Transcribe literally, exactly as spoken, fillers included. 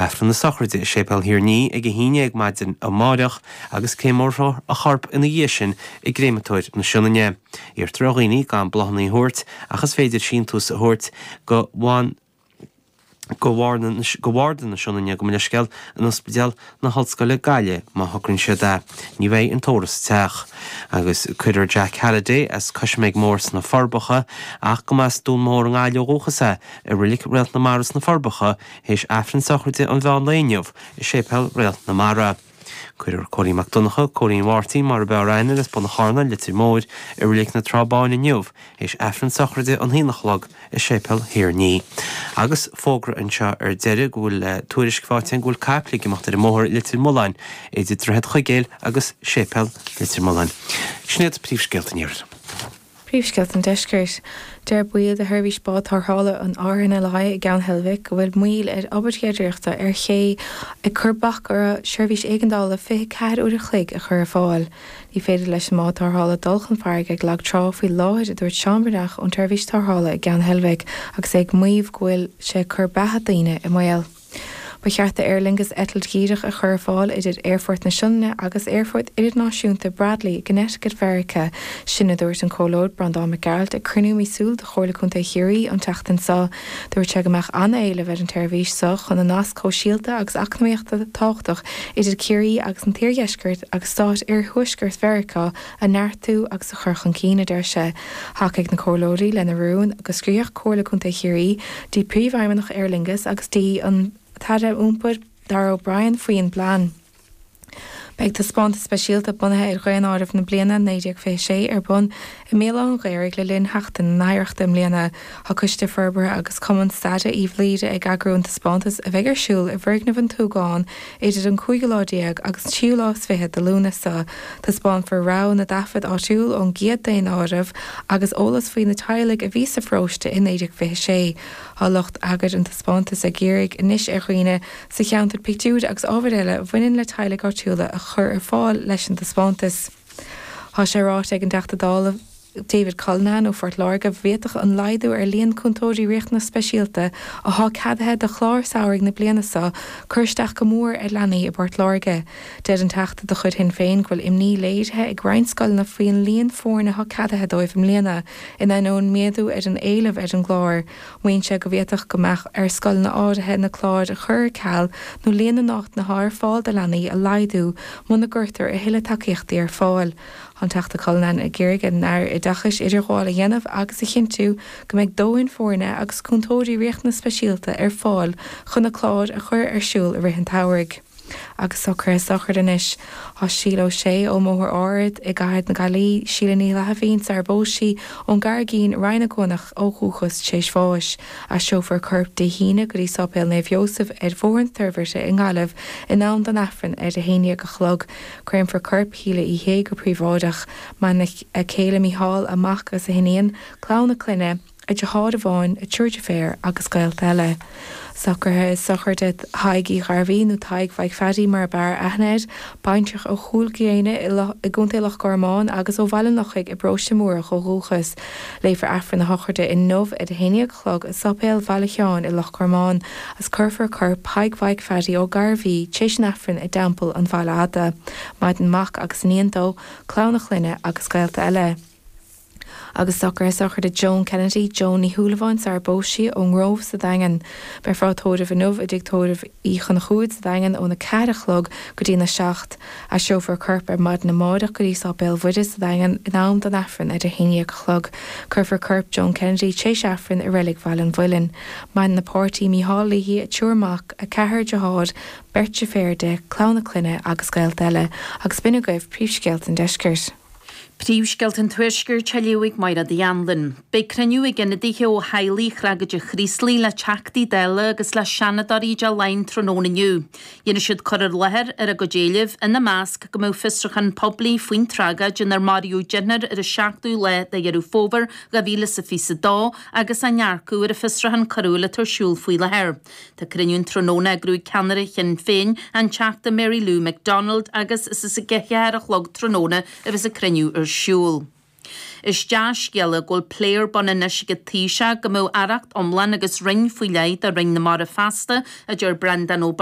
Léifear Aifreann na sochraide i Séipéal Thír an Fhia ag a haon déag maidin amáireach agus créamófar a chorp ina dhiaidh sin i gcréamatóir na Sionainne. Iarrtar ar dhaoine gan bláthanna a thabhairt ach is féidir síntiús a thabhairt go bhain go Bharda na Sionainne gabh mo leithscéal in Ospidéal na hOllscoile Gaillimh má shocraíonn siad é. Ní bheidh an tórramh sa teach. Agus cuirfear Jack Halliday as Coisméig Mór sna Forbacha ach go mb'as Dún Mór i nGaillimh ó dhúchas é i Reilig Réalt na Mara sna Forbacha théis Aifreann sochraide an mheán lae inniu i Séipéal Réalt na Mara. Cuirfear Cóilín Mac Donncha, Cóilín Mháirtín mar a b'fhearr aithne as Bun an Charna, Leitir Móir, i Reilig na Trá Báine inniu, théis Aifreann sochraide an haon a chlog i Séipéal Thír an Fhia. Agus fógra anseo ar deireadh go bhfuil tuairisc faighte go bhfuil caiple ag imeacht ar an mbóthar i Leitir Mealláin idir Droichead Chuigéil agus Séipéal Leitir Mealláin. Sin iad príomhscéalta an iarthair. Príomhscéalta an deiscirt. Deir baill de sheirbhís bád tarrthála an RNLI i gCeann Heilbhic go bhfuil moill ar obair ghéaraireachta ar ché ag cur bac ar seirbhís éigeandála fiche ceathair uair a chloig a chur ar fáil. Ní féidir leis an mbád tarrthála dul chun farraige ag lag trá faoi láthair a dúirt Seán Breathnach ón tseirbhís tarrthála i gCeann Heilbhic agus é ag maíomh go bhfuil sé ag cur beatha daoine i mbaol. Ba cheart do Aer Lingus eitilt dhíreach a chur ar fáil idir Aerfort na Sionainne agus Aerfort Idirnáisiúnta Bradley i gConnecticut Mheiriceá. Sin a dúirt an Comhairleoir Breandán Mac Gearailt ag cruinniú míosúil de Chomhairle Contae Chiarraí an tseachtain seo. Dúirt sé go mbeadh an-éileamh ar an tseirbhís seo chun an nasc sóisialta agus eacnamaíochta tábhachtach idir Ciarraí agus an t-iardheisceart agus stát iarthuaisceart Mheiriceá a neartú agus a chur chun cinn a deir sé. Thacaigh na comhairleoirí lena rún go scríobhadh Comhairle Contae Chiarraí dtí príomhfheidhmeannach Aer Lingus agus dtí an tAire Iompair Darragh O'Brien faoin bplean. Beidh taispeántas speisialta bunaithe ar dhaonáireamh na bliana naoi déag fiche sé ar bun i mBéal Átha an Ghaorthaidh le linn Sheachtain na nOidhreachta i mbliana. Tá Coiste Forbartha agus Cumann Staide Uíbh Laoire ag eagrú an taispeántas a bheidh ar siúl i bhfoirgneamh an tSúgáin idir an cúigiú lá déag agus an tríú lá is fiche de Lúnasa. Taispeánfar rogha na dtaifead áitiúil ón gcéad daonáireamh agus eolas faoi na teaghlaigh a bhí sa pharóiste i naoi déag fiche sé. Tá lucht eagair an taispeántais ag iarraidh anois ar dhaoine sa cheantar pictiúir agus ábhair eile a bhaineann le teaghlaigh áitiúla a chur ar fáil leis an taispeántas. Tá sé ráite ag an dTeachta Dála David Cullinane ó Phort Láirge bhféadfadh an laghdú ar líon cúntóirí riachtanas speisialta atá ceadaithe do chlár samhraidh na bliana seo cur isteach go mór ar leanaí i bPort Láirge. Deir an Teachta de chuid Shinn Féin go bhfuil imní léirithe ag roinnt scoileanna faoin líon foirne atá ceadaithe dóibh i mbliana, in ainneoin méadú ar an éileamh ar an gclár. Maíonn sé go bhféadfadh go mbeadh ar scoileanna áirithe na cláir a chur ar ceal nó líon na n-áiteanna atá ar fáil do leanaí a laghdú muna gcuirtear a thuilleadh tacaíochtaí ar fáil. Tá an Teachta Cullinane ag iarraidh ar an Aire Oideachais idirghabháil a dhéanamh agus a chinntiú go mbeidh dóthain foirne agus cúntóirí riachtanas speisialta ar fáil chun na cláir a chur ar siúl i rith an tsamhraidh. Agus socruithe sochraide anois. Tá Síle Ó Sé ón mBóthar Ard i gCathair na Gaillimhe, Síle Ní Fhlaithimhín sar phós sí ón gCarraigín, Rinn na gCuanach ó dhúchas tar éis bháis. Aistreofar a corp Dé hAoine go dtí Sáipéal Naomh Iósaf ar Bhóthar an Toirbhirte i nGaillimh in am don Aifreann ar a haon déag a chlog. Créamfar corp Shíle Uí Shé go príobháideach. Maireann a céile Mícheál, a mac agus a hiníon, clann a clainne, a deartháir amháin, a triúr deirféar agus gaolta eile. Socruithe sochraide Thaidhg Uí Ghairbhí nó Tadhg Mhaidhc Pheaidí mar ab fhearr aithne air, baintreach ó Chúil Gréine i gContae Loch Garman agus ó Bhaile an Lochaigh i bparóiste Múrach ó dhúchas. Léifear Aifreann a shochraide inniu ar a haon déag a chlog i Sáipéal Bhaile Sheáin i Loch Garman agus cuirfear corp Thaidhg Mhaidhc Pheaidí Ó Gairbhí tar éis an Aifrinn i dTeampall an Bhaile Fhada. Maireann mac agus iníon dó, clann a chlainne agus gaolta eile. Agus socruithe sochraide Joan Kennedy, Joan Ní Shúilleabháin sar phós sí ón nGrove sa Daingean. Beifear á tórramh inniu i dTigh Tórraimh Uí Chonchúir sa Daingean óna ceathair a chlog go dtí na seacht. Aistreofar a corp ar maidin amárach go dtí Sáipéal Mhuire sa Daingean in am don Aifreann ar a haon déag a chlog. Cuirfear corp Joan Kennedy tar éis Aifrinn i Reilig Bhaile an Mhuilinn. Maireann a páirtí Mícheál léi, a triúr mac, a ceathrar dearthár, beirt deirféar di, clann a clainne agus gaolta eile. Agus b'in agaibh príomhscéalta an deiscirt. Príomhscéalta an Tuaiscirt á léamh ag Máire Uí Anluain. Beidh cruinniú ag ionadaithe ó theaghlaigh thragóide Chraoslaigh le Teachtaí Dála agus le Seanadóirí i dTeach Laighean tráthnóna inniu. Dhéanfaidh siad cur i láthair ar a gcuid éileamh, ina measc go mbeadh fiosrúchán poiblí faoin tragóid inar maraíodh deichniúr ar an seachtú lá de Dheireadh Fómhair dhá mhíle is a fiche a dó agus a ndearcadh ar an bhfiosrúchán coiriúil atá ar siúl faoi láthair. Tá cruinniú an tráthnóna á eagrú ag ceannaire Shinn Féin, an Teachta Mary Lou McDonald agus is ag a ceathair a chlog tráthnóna a bheas an cruinniú ar siúl. Is dea-scéala go bhfuil plé ar bun anois ag an Taoiseach go mbeadh aireacht iomlán agus roinn faoi leith do Roinn na Mara feasta, a deir Breandán Ó